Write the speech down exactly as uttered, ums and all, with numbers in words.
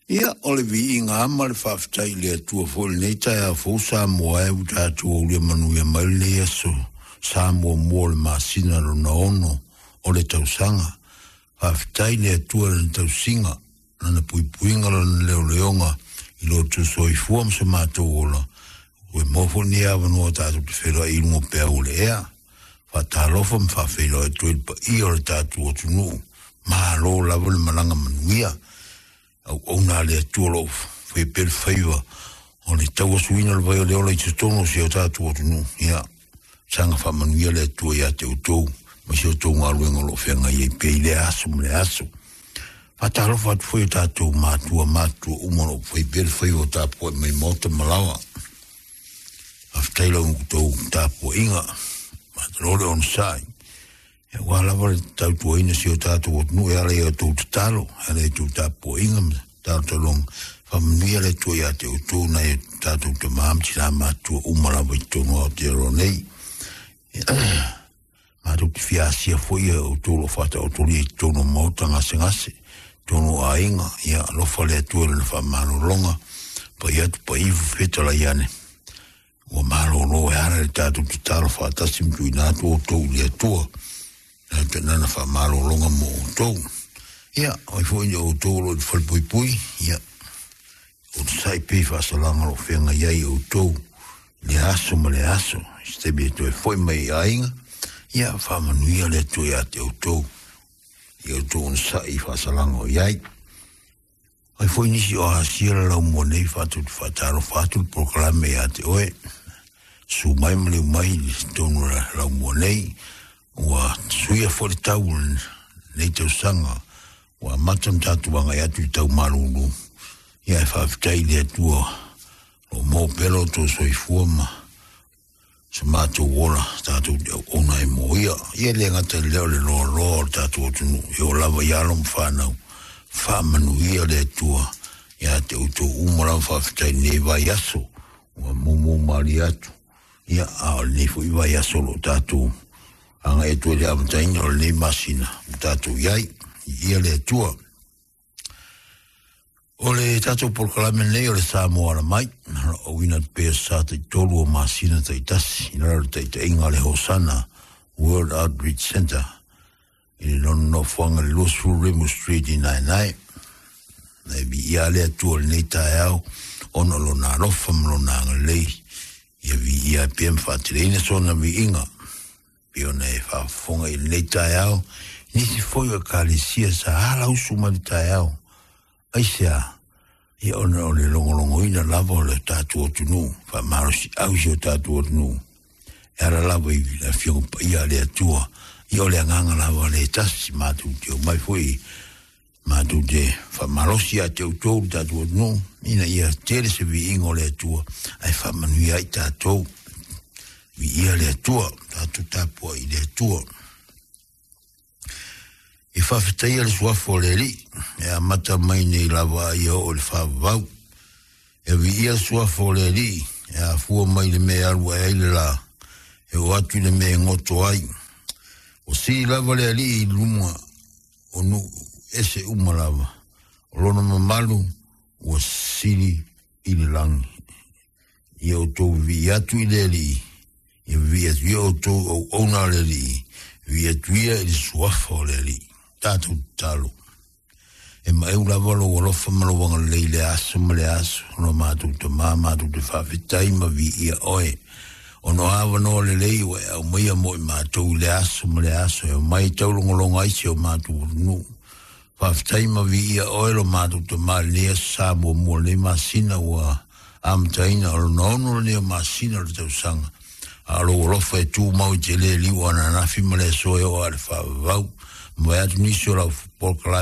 Ia, o le viiga lava ma le faafetai i le Atua foi i lenei taeao fou Samoa e ua tatou aulia manuia mai lenei aso sa muamua o le masina lona ono o le tausaga. Faafetai i le Atua i lana tausiga, lana puipuiga, lana leoleoga i lo outou soifua ma so matou ola, ua maua foi lenei avanoa tatou te feiloai i luga o peau o le ea. Faatalofa ma faafeiloai atu ai le paia o le tatou atunuu. Malo lava le malaga manuia. Auauna a le Atua o lo o faia pea le faiva o le tauasuina o le vai o le ola i totonu o si o tatou atunuu. Ia, saga faamanuia le Atua ia te outou ma si o outou galuega o lo o feagai ai pea i lea aso ma le aso. Faatalofa atu foi i o tatou matua matutua uma o lo o fai pea le faiva o tapuai mai maota ma laoa. Faafetai i la outou tapuaiga, malo le onosai. Aua lava le tautuaina si o tatou atunuu e ala i a outou tatalo, e ala i a outou tapuaiga ma talotaloga. Faamanuia le Atua ia te outou nai o tatou tama ma tina matutua uma lava i totonu o Aotearoa nei. Matou te fia asia foi e outou o lo o faataotolia i totonu o maota gasegase, totonu o aiga, ia alofa le Atua i lana faamalologa, pai atu pai ifo fetalai ane. Ua malolo e ala i le tatou tatalo faatasi ma tuuina atu outou i le Atua, lana faamalologa mo outou. Ia, o ai foi o outou o lo o i le falepuipui, ia, onosai pea i faasalaga o lo o feagai ai outou i le aso ma le aso, i se taimi e toe foi mai i aiga, ia, faamanuia le Atua ia te outou, i outou onosai i faasalaga o i ai. Ai foi nisi o asia le laumua nei fatou te faatalofa atu le polokalame ia te oe. Susu mai ma liu mai i totonu o le laumua nei. Ua suia foi le tau o lenei tausaga. Ua amata ona tatou agai atu i tau malulu. Ia e faafetai i le Atua o lo o maua pea lo outou soifua ma so matou ola tatou te auauna ai mo ia. Ia e le gata i lea o le loaloa o le tatou atunuu, e oo lava i alo ma fanau. Faamanuia le Atua ia te outou uma lava. Faafetai i lenei vaiaso ua mumu malie atu. Ia, a o lenei foi vaiaso o lo o tatou agai atu ai i le amataina o lenei masina ua tatou i ai. Viia le Atua. O le tatou polokalame lenei o le Samoa Ala Mai, o lo o auina atu pea sa taitolu o masina taitasi i lalo o le taitaiga a le Hosana World Outreach Center i le lona nofoaga i le luasefulu Rimu Street i Naenae. Na e viia le Atua i lenei taeao ona o lona alofa ma lona agalelei, ia viia ai pea ma faateleina sona viiga. Pei ona e faafofoga i lenei taeao, nisi foi o ekalesia sa alausu mai le taeao. Aisea? Ia ona o le logologoina lava o le tatou atunuu, faamalosiau i si o tatou atunuu, e ala lava i le Afioga Paia a le Atua. Ia o le agaga lava le tasi, matou te omai foi matou te faamalosi ia te outou le tatou atunuu, ina ia tele se viiga o le Atua ae faamanuia ai tatou. Viia le Atua, tatou tapuai i le Atua. E faafetaia le suafa o le Alii, e amata mai nei lava a ia oo i le faavavau. E viia le suafa o le Alii, e afua mai le mea e alu ae ai le la, e oo atu i le mea e goto ai. O sili lava le Alii i luma o nuu ese uma lava, o lona mamalu ua sili i le lagi. Ia outou vivii atu i le Alii, ia vivii atu ia outou auauna a le Alii, vivii atu ia i le suafa o le Alii. Tatou tatalo. E maeu lava lou alofa ma lou agalelei i le aso ma le aso, lo matou Tama, matou te faafetai ma viia oe. Ona o avanoa lelei ua e aumaia mo i matou i le aso ma le aso, e omai e taulogologo ai si o matou atunuu. Faafetai ma viia oe lo matou Tama i lenei aso sa muamua o lenei masina ua amataina, o lona ono lenei o masina o le tausaga. A o lou alofa e tumau i te le liu o ananafi ma le aso e oo lava i le faavavau. Ma vae atu nisi o lau polokalame